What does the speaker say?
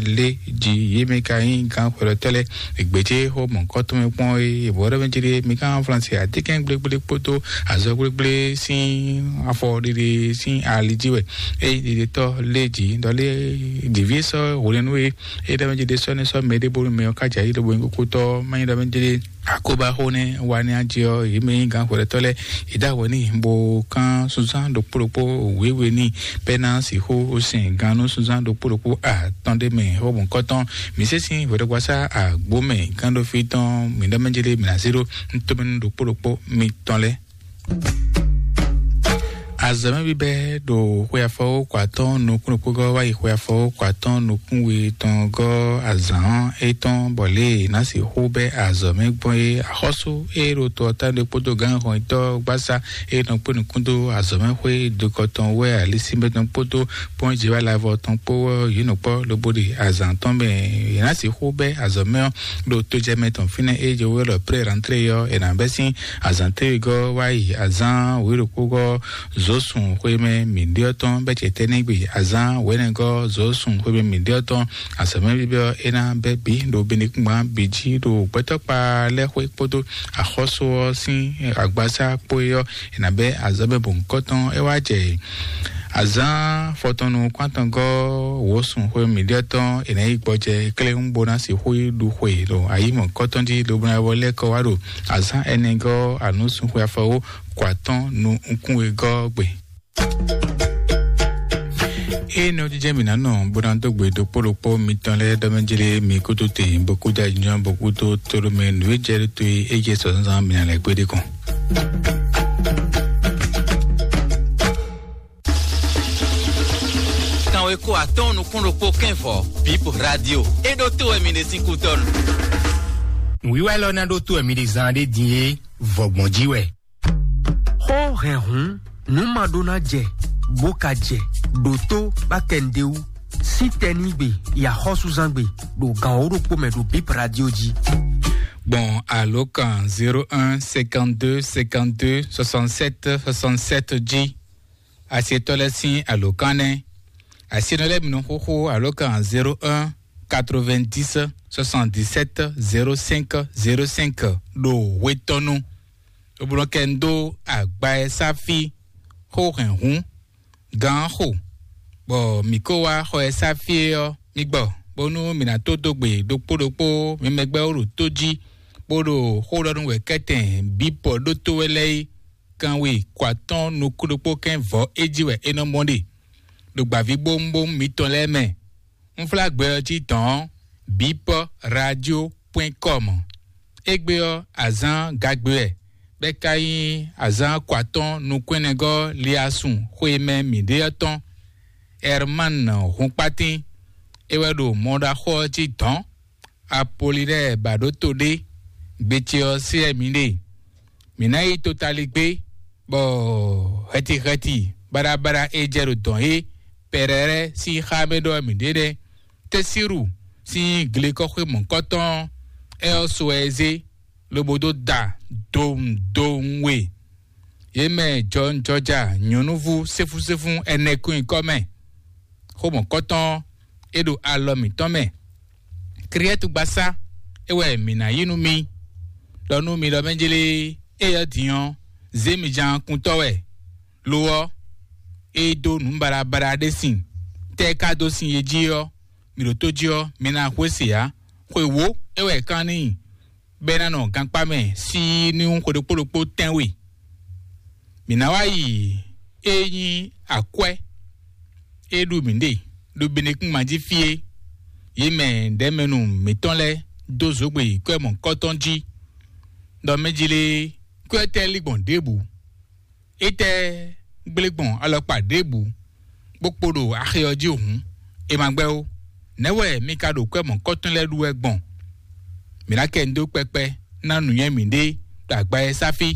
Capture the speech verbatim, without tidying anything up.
lé jí yě mɛ ka nyí gǎn xwɛɖɔtɔ́ lɛ́ɛ. Ègbějé xó mɔ̌kɔ́tɔn mɛ kpɔ́n é, ìbò ɖɔ mɛ jí ɖé mi ká Flánsi atínkɛn gblégblé kpódó azɔ gblégblé sín afɔ ɖiɖe sín ali jí wɛ. É ɖiɖetɔ́ lé jí ɖɔ lé dǐví sɔ́ hwlɛ́nú é, é ɖɔ mɛ jí ɖé sɔ́ ní sɔ́ mɛ ɖé bónú mɛ ɔ́ ká jǎ yí ɖo bó nyí kókótɔ́ má nyí ɖɔ mɛ jí ɖé akóbáxó nɛ́ wá ní ajé ɔ́, yě mɛ nyí gǎn xwɛɖɔtɔ́ lɛ́ɛ, yě dó awɔ n'i bó kán sunzán ɖokpó ɖokpó wěwe n'i, bɛ́ ná sixú sɛn gannú sunzán ɖokpó ɖokpó atɔn ɖé mɛ xó mɔ̌kɔ́tɔn. Mǐ sésín hwɛɖɔgbasá àgbó mɛ gánɖófí tɔn mǐ ɖɔ mɛ jélé mǐ ná zé ɖó ntomɛnú ɖokpó ɖokpó mitɔn lɛ́ɛ. Azɔ̌mɛ bíbɛ́ ɖo xwe afɔwó kɔ atɔ́ɔ́n nukún ɖokpó gɔ́ wá yi xwe afɔwó kɔ atɔ́ɔ́n nukún we tɔn gɔ́ azǎn étɔn bɔ lě e è nǎ sixú bɛ́ azɔ̌mɛ gbɔn é. Axɔ́sú e ɖo to ɔ́ tán ɖé kpódó gǎnhɔnyitɔ́ gbásá e nɔ kpé nukún dó azɔ̌mɛxwé dokɔ tɔn wɛ alisínbɛ́ tɔn kpódó kpɔ́njɛ́wálavɔ tɔn kpó ɔ́, yě nɔ kpɔ́ lobo ɖe azǎn tɔn mɛ. È nǎ sixú bɛ́ azɔ̌mɛ ɔ́ ɖo tojɛmɛ tɔn fínɛ́ e jɛ wɛ ɖɔ pré rantré ɔ́, è nǎ bɛ́ sín azǎn téwegɔ́ wá yi azǎn wěɖokpógɔ́ zǒsun xwemɛ mǐɖéɔ́ tɔn bɛ́ cɛ tɛ́ nɛ́ gbe azǎn wěnɛgɔ́ zǒsun xwemɛ mǐɖéɔ́ tɔn. Azɔ̌mɛ bíbɛ́ ɔ́, é ná bɛ́ bǐ ɖo benekúngban bǐ jí ɖo gbɛtɔ́kpa lɛ́ɛ xwé kpódó axɔ́sú ɔ́ sín agbasá kpó é ɔ́, è nǎ bɛ́ azɔ̌mɛ bɔ̌nkɔ́tɔn é wá jɛ azǎn fɔtɔnnu kwántɔngɔ́ wǒsun xwe mǐɖéɔ́ tɔn è nǎ yi gbɔjɛ kléwún bó ná sixú yi ɖu xwe ɖo ayǐ mɔ̌kɔ́tɔn jí lobo ná wɔ lɛ́ kɔ wá ɖo azǎn ɛnɛgɔ́ anǔsúnxwe afɔwó kɔ atɔ́ɔ́n nukún wegɔ́ gbe. Eye nɔ jijɛ mi nǎ nɔ bó ná dó gbe ɖokpó ɖokpó mitɔn lɛ́ɛ ɖɔ mɛ jlé mi kútó te bó kú dá jínjɔ́n bó kú tó tóɖó mɛ nǔ e jɛ ɖó to e é jɛ sɔ zán mi ná lɛ́ gbé ɖé kɔn. Kanwe ko atɔ́ɔ́n nukún ɖokpó kɛ́n vɔ Bip Radio. É ɖó tó wɛ mi ɖe sín kútɔ́nu. Nǔwiwa élɔ́ ná ɖó tó wɛ mi ɖe zán ɖé din é vɔgbɔn jí wɛ. Xó hɛn hǔn, nǔ ma ɖó ná jɛ, bó ka jɛ, ɖo tó bá kɛ nɖé wú, sín tɛnígbe, yi axɔ́súzángbe, ɖo gan wǒ ɖokpó mɛ ɖo Bip Radio jí. Gbɔn alǒkan zéro un cinquante-deux cinquante-deux soixante-sept soixante-sept jí. Asietɔ́ lɛ́ɛ sín alǒkan nɛ́. Asienɔ lɛ́ɛ mi nɔ xóxó alǒkan zéro un quatre-vingt-dix soixante-dix-sept zéro cinq zéro cinq ɖo hwetɔ́nu. Lobo nɔ kɛ n dó agba e sá fí xó hɛn hǔn gǎn xo, bɔ mǐ ko wá xɔ e sá fí é ɔ́, mì gbɔ, bónú mǐ ná tó dó gbe ɖokpó ɖokpó mi mɛ gbɛ́ wú ɖo tó jí, bó ɖo xó ɖɔ nú wɛ̌kɛ́tɛn bǐ pɔ ɖótó wɛ lɛ́ɛ é. Kanwe kɔ atɔ́ɔ́n nukún ɖokpó kɛ́n vɔ̌ é jí wɛ é nɔ mɔ ɖe ɖo gbǎvíbówúnbówún mitɔn lɛ́ɛ mɛ. Unflágbɛ ɔ́ cí dɔ̌n bipɔ radio point com. Égbé ɔ́, azǎn gagbe wɛ, bɔ é ka nyí azǎn kɔ atɔ́ɔ́n nukún ɛnɛgɔ́ liasun xwe mɛ mǐɖée ɔ́ tɔn. Herman Hunkpatín, é wɛ ɖo mɔɖaxó ɔ́ jí dɔ̌n. Apolinɛ́ɛ ba ɖó to ɖé, gbe ce ɔ́ sí wɛ mǐ ɖe. Mǐ ná yi totaligbé, bɔ hɛtihɛti baɖabaɖa e jɛ ɖo dɔ̌n é pɛrɛrɛ sín xá mɛ ɖɔ mǐ ɖe nɛ́. Tɛ́síru sín glekɔ́xwé mɔ̌kɔ́tɔn ɔ́, é ɔ́ so wɛ é zé, lobo dó da dowun dowun we. Yě mɛ jɔnjɔja nyɔ̌núvú séfúséfú ɛnɛ kún nyǐkɔ mɛ. Xó mɔ̌kɔ́tɔn ɔ́, é ɖo alɔ mǐtɔn mɛ. Kriɛ́tugbasá é wɛ mǐ ná yí nú mi, ɖɔ nú mi ɖɔ mɛ jlé, éyɛ́ din ɔ́, zě mi ján kuntɔ́ wɛ. Lo ɔ́, é dó nǔ baɖabaɖa ɖé sin, tɛ́ é ka dó sin e jí ɔ́, mi ɖo tó jí ɔ́, mi ná hwesé ǎ. Xwe wǒ é wɛ é kán n'i, bɔ é ná nɔ gankpá mɛ síí ní xwe ɖokpó ɖokpó tɛ́nwe. Mǐ ná wá yi é nyí akwɛ́ e ɖu mǐ ɖe ɖo Benekúnma jí fí é. Yě mɛ ɖɛ̌mɛnu mǐtɔn lɛ́ɛ dó zǒgbe yi kwɛ́ mɔ̌kɔ́tɔn jí, ɖɔ mɛ jí lé kwɛ́ tɛ́ lí gbɔn ɖěbǔ. Étɛ́ gblé gbɔn alɔkpa ɖěbǔ, bó kpo ɖo axi ɔ́ jí hǔn, è ma gbɛ́ ó. Nɛ̌ wɛ mi ka ɖo kwɛ́ mɔ̌kɔ́tɔn lɛ́ɛ ɖu wɛ gbɔn? Mǐ ná kɛ mi dó kpɛkpɛ ná nǔnywɛ́ mǐɖée ɖo agba e sáfí.